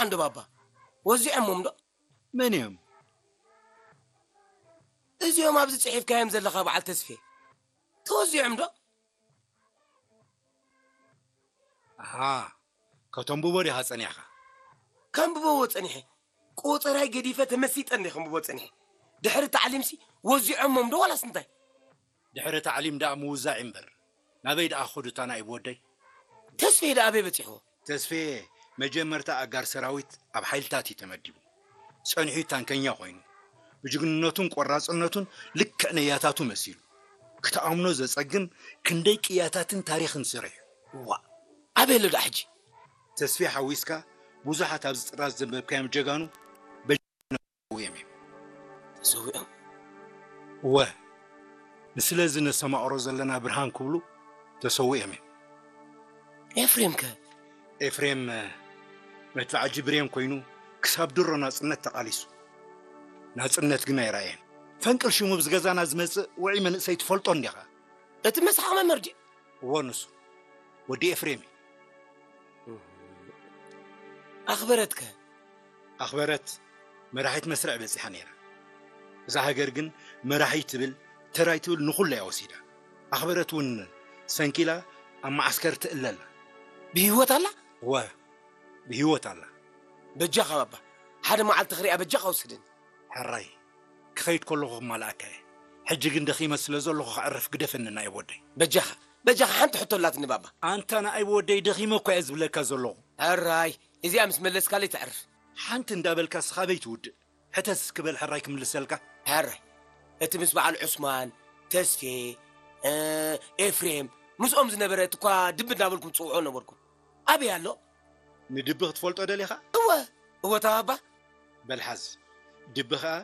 ዓንዶ ባባ፣ ወዚዖሞም ዶ? መን እዮም? እዚኦም ኣብዚ ጽሒፍካዮም ዘለኻ በዓል ተስፌ ተወዚዖም ዶ? ኣሃ፣ ከተንብቦ ዲኻ ጸኒሕካ? ከንብበዎ ጸኒሐ። ቆጸራይ ገዲፈ ተመሲጠ እንደ ከንብቦ ጸኒሐ። ድሕሪ ታዕሊምሲ ወዚዖሞም ዶ ዋላስ እንታይ? ድሕሪ ታዕሊም ደኣ ምውዛዕ እምበር ናበይ ደኣ ክኸዱ እታ ናኢብ ወደይ? ተስፌ ደኣ ኣበይ በጺሕዎ? ተስፌ መጀመርታ ኣጋር ሰራዊት ኣብ ሓይልታት እዩ ተመዲቡ። ጸኒሑ ታንከኛ ኮይኑ ብጅግንነቱን ቆራጽነቱን ልክዕ ነያታቱ መሲሉ ክትኣምኖ ዘጸግም ክንደይ ቅያታትን ታሪኽን ስሪሑ። ዋ ኣበይ ኣሎ ደኣ ሕጂ? ተስፌ ሓዊስካ ብዙሓት ኣብዚ ጥራዝ ዘንበብካዮም ጀጋኑ በጀነው እዮም። ተሰዊኦም። እወ፣ ንስለዚ ነስተማቕሮ ዘለና ብርሃን ክብሉ ተሰዊኦም እዮም። ኤፍሬም ከ? ኤፍሬም መድፍዓጂ ብሬን ኮይኑ ክሳብ ድሮ ናጽነት ተቓሊሱ። ናጽነት ግን ኣይረኣየን። ፈንቅል ሽሙ ብዝገዛና ዝመጽእ ውዑይ መንእሰይ ትፈልጦ እንዲኻ? እቲ መስሓቕ መምህር ድዩ? እወ ንሱ ወዲ ኤፍሬም እዩ። ኣኽበረትከ? ኣኽበረት መራሒት መስርዕ በጺሓ ነይራ። እዛ ሃገር ግን መራሒ ትብል ተራይ ትብል ንኹሉ እያ ወሲዳ። ኣኽበረት እውን ሰንኪላ ኣብ መዓስከር ትእለላ። ብህይወት ኣላ? እወ ብህይወት ኣላ። በጃኻ ባባ ሓደ መዓልቲ ክሪኣ በጃኻ ውስድን። ሕራይ ክኸይድ ከለኹ ክማልኣካ እየ። ሕጂ ግን ደኺመ ስለ ዘለኹ ክዕርፍ ግደፈኒ ናይ ወደይ። በጃኻ በጃኻ ሓንቲ ሕቶ ኣላትኒ ባባ። ኣንታ ንኣይ ወደይ ደኺመ እኳ እየ ዝብለካ ዘለኹ። ሕራይ እዚኣ ምስ መለስካለይ ተዕርፍ። ሓንቲ እንዳበልካ ስኻበይ ትውድእ። ሕተት እስኪ በል ሕራይ ክምልሰልካ። ሕራይ እቲ ምስ በዓል ዑስማን፣ ተስፌ፣ ኤፍሬም ምስኦም ዝነበረ እቲ እኳ ድቢ እናበልኩም ትፅውዖ ነበርኩም ኣበይ ኣሎ? ንድቢ ክትፈልጦ ደሊኻ? እወ እወ ተባባ። በል ሓዝ ድቢ ኸኣ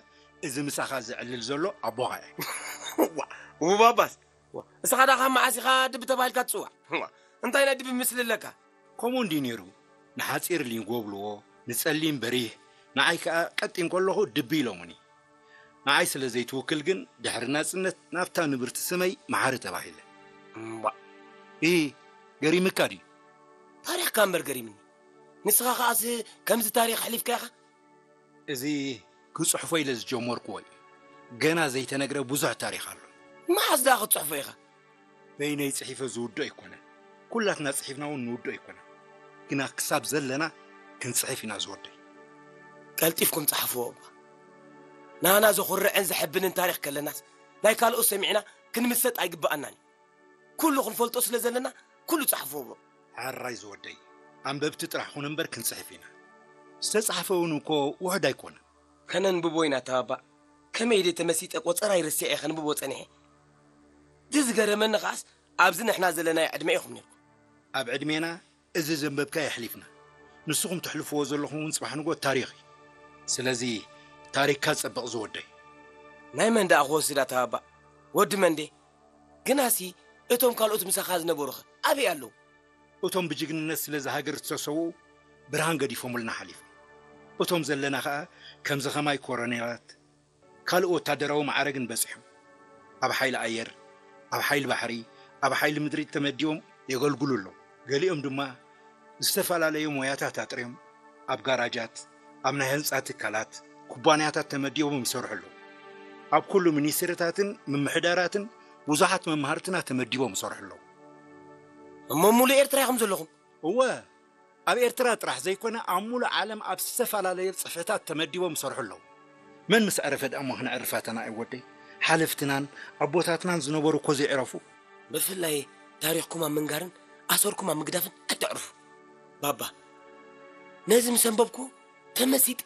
እዚ ምሳኻ ዘዕልል ዘሎ ኣቦኻ እየ። እዋ እውባባስ እስኻ ዳ ካብ መዓስ ኢኻ ድቢ ተባሂልካ ትጽዋዕ? እንታይ ናይ ድቢ ምስሊ ኣለካ? ከምኡ እንድዩ ነይሩ። ንሓጺር ሊንጎ ብልዎ፣ ንጸሊም በሪህ፣ ንዓይ ከኣ ቀጢን ከለኹ ድቢ ኢሎሙኒ። ንዓይ ስለ ዘይትውክል ግን ድሕሪ ናጽነት ናብታ ንብርቲ ስመይ መሓሪ ተባሂለ። እምባእ። ኢሂ፣ ገሪምካ ድዩ? ታሪኽካ እምበር ገሪምኒ። ንስኻ ከኣስ ከምዚ ታሪኽ ኣሕሊፍካ ኢኻ? እዚ ክጽሕፎ ኢለ ዝጀመርክዎ እዩ። ገና ዘይተነግረ ብዙሕ ታሪኽ ኣሎ። መዓስ ደኣ ክትጽሕፎ ኢኻ? በይነይ ጽሒፈ ዝውድኦ ኣይኮነን። ኩላትና ጽሒፍና እውን ንውድኦ ኣይኮነን። ግና ክሳብ ዘለና ክንጽሕፍ ኢና ዝወደይ። ቀልጢፍኩም ጸሓፍዎ እባ። ናና ዘኹርዕን ዘሐብንን ታሪኽ ከለናስ ናይ ካልኦት ሰሚዕና ክንምሰጥ ኣይግብኣናን እዩ። ኩሉ ክንፈልጦ ስለ ዘለና ኩሉ ጸሓፍዎ እባ። ሕራይ ዝወደይ፣ ኣንበብቲ ጥራሕ ኹን እምበር ክንጽሕፍ ኢና። ዝተጻሕፈ እውን እኮ ውሑድ ኣይኮነን። ከነንብቦ ኢና ተባባዕ። ከመይ ኢለ ተመሲጠ ቆጸራይ ረሲዐ ከንብቦ ጸኒሐ። እቲ ዝገረመኒ ከኣስ ኣብዚ ንሕና ዘለናዮ ዕድመ ኢኹም ኔርኩም። ኣብ ዕድሜና እዚ ዘንበብካዮ ኣሕሊፍና። ንስኹም ተሕልፍዎ ዘለኹም እውን ጽባሕ ንግሆ ታሪኽ እዩ። ስለዚ ታሪኽካ ጸብቕ ዝወደይ። ናይ መን ደኣ ክወስድ ኣተባባዕ? ወዲ መን ድየ? ግናሲ እቶም ካልኦት ምሳኻ ዝነበሩኸ ኣበይ ኣለዉ? እቶም ብጅግንነት ስለዚ ሃገር ዝተሰውኡ ብርሃን ገዲፎምልና ሓሊፎም። እቶም ዘለና ኸኣ ከምዚ ኸማይ ኮረኔላት ካልእ ወታደራዊ ማዕረግን በጺሖም ኣብ ሓይሊ ኣየር፣ ኣብ ሓይሊ ባሕሪ፣ ኣብ ሓይሊ ምድሪ ተመዲቦም የገልግሉ ኣለዉ። ገሊኦም ድማ ዝተፈላለዩ ሞያታት ኣጥርዮም ኣብ ጋራጃት፣ ኣብ ናይ ህንጻ ትካላት፣ ኩባንያታት ተመዲቦም ይሰርሑ ኣለዉ። ኣብ ኩሉ ሚኒስትሪታትን ምምሕዳራትን ብዙሓት መማህርትና ተመዲቦም ይሰርሑ ኣለዉ። እሞ ሙሉእ ኤርትራ ኢኹም ዘለኹም? እወ፣ ኣብ ኤርትራ ጥራሕ ዘይኮነ ኣብ ሙሉእ ዓለም ኣብ ዝተፈላለዩ ጽፍሕታት ተመዲቦም ይሰርሑ ኣለዉ። መን ምስ ዕረፈ ደኣ እሞ ክነዕርፍ ኣተና ኣይ ወደይ? ሓለፍትናን ኣቦታትናን ዝነበሩ እኮ ዘይዕረፉ። ብፍላይ ታሪኽኩም ኣብ ምንጋርን ኣሰርኩም ኣብ ምግዳፍን ኣይተዕርፉ። ባባ፣ ነዚ ምስ ኣንበብኩ ተመሲጠ።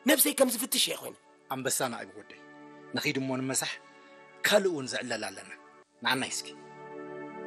ነብሰይ ከም ዝፍትሽ እየ ኮይነ። ኣንበሳና ኣይወደይ። ንኺድ እሞ ንመሳሕ ካልእ እውን ዝዕለል ኣለና። ንዓናይ እስኪ።